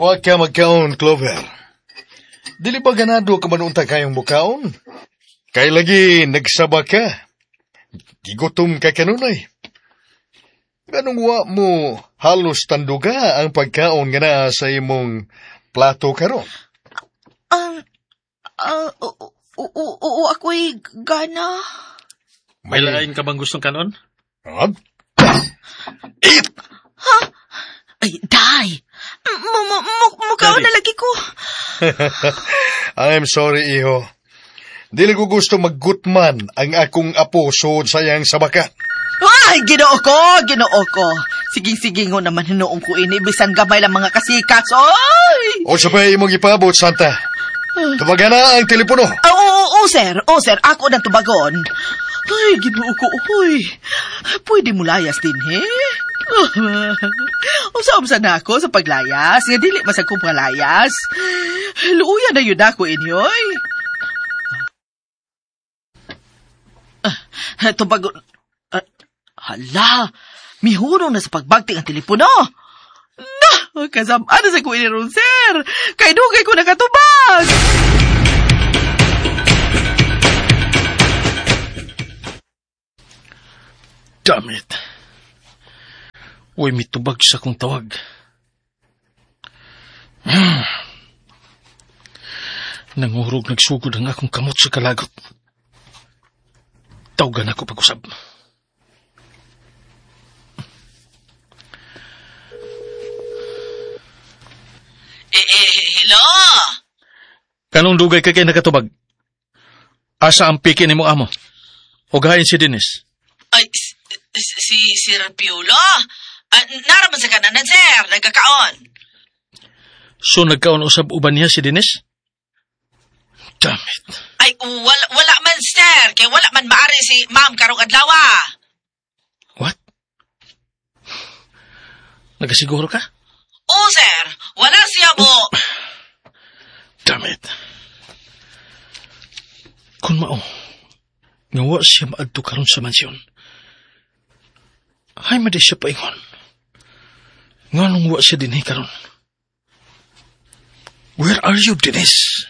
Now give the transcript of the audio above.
Wa ka magkaon, Clover. Dili ba ganado ka man unta kayong mukaon? Kay lagi nagsaba ka. Gigutom ka kanunay. Ganong wa mo halos tanduga ang pagkaon nga naa sa imong plato karon. Oo, ako'y gana. May lain ka bang gustong kanon? Ah, Ay, day! Mukhaon Daddy. na lagi ko. I'm sorry, iho. Dili ko gusto maggutman ang akong apo sud sa iyang sabakan. Ay, ginoo ko, ginoo ko. Sige-sige ngo naman hinuong ko ini, bisan gamay lang mga kasikas. Oy! O sa pa imong ipabot, Santa. Tubagan na ang telepono. Ah, oo, oo, sir. Oo, sir. Ako ng tubagon. Ay, ginoo ko, uy. Pwede mo layas din, he? Usa-usa na ako sa paglayas. Nga dili mas ako layas. Luuya na yun ako inyoy. Ah, tubagon. Ah, hala, mihurong na sa pagbagti ang telepono. Na, kasama na sa ko ini ron, sir. Kay dugay ko nakatubag. Damn it. Uy, mitubag sa kong tawag. Nangurog nagsugod ang akong kamot sa kalagot. Tawagan ako pag-usab. Eh, hello? Kanong dugay ka kay nakatubag? Asa ang piki ni mo amo? Ugahin si Dennis. Ay, si Sir Piolo? Ah, naraman sa kananan, sir. Nagkakaon. So nagkaon usab uban niya si Dennis? Damn it. Ay, wala man, sir. Kay wala man maari si ma'am karong adlaw. What? Nagasiguro ka? Oo, sir. Wala siya mo. Damn it. Kung mao, nga wa siya maadto karon sa mansyon. Ay, madi siya paingon. Nganong wa siya dinhi karon? Where are you, Dennis?